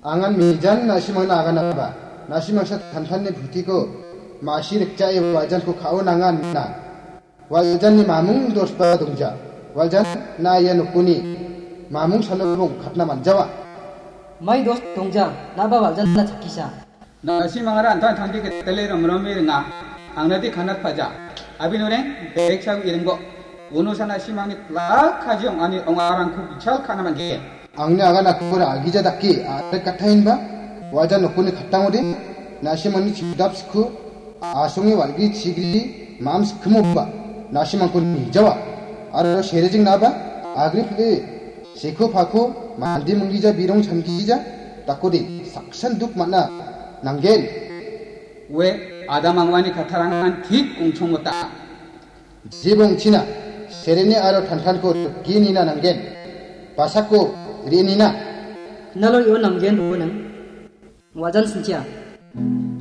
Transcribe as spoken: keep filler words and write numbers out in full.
Angan mejan na·simangna aganaba, na·simangsa tantanni butiko ma·si rikjae waljanko ka·o nangan na. Waljanni mamung dosba dongja. Waljan na ia nokoni mamung salobong katna manjawa. Mai dos dongja, naba waljanna chakkisa. Na·simangara antan tangdi ketele romromi ringa. Angnadi kanat paja. Abin oreng, bek sau iringbo. Uno sana simangni plak kaji ong·ani ong·arangko bichal kana mangge. Angni aganakora agija dake a·rek kataenba, waja nokoni kattangode, na·simangni chidap sikku, asonge walgi chigri, mam sikkumoba, na·simangko nijawa. Aro serejing naba, agri pile, seko pako, mandi munggija birong changkija, dakode, saksan duk man·a, nanggen. Ue, Adam angwani katarangan tik ongchongmota. Jibongchina, sereni aro tantanko rikgenina nanggen. Basako re·nina. Nalo io nanggen roenang. Wajan sinchia.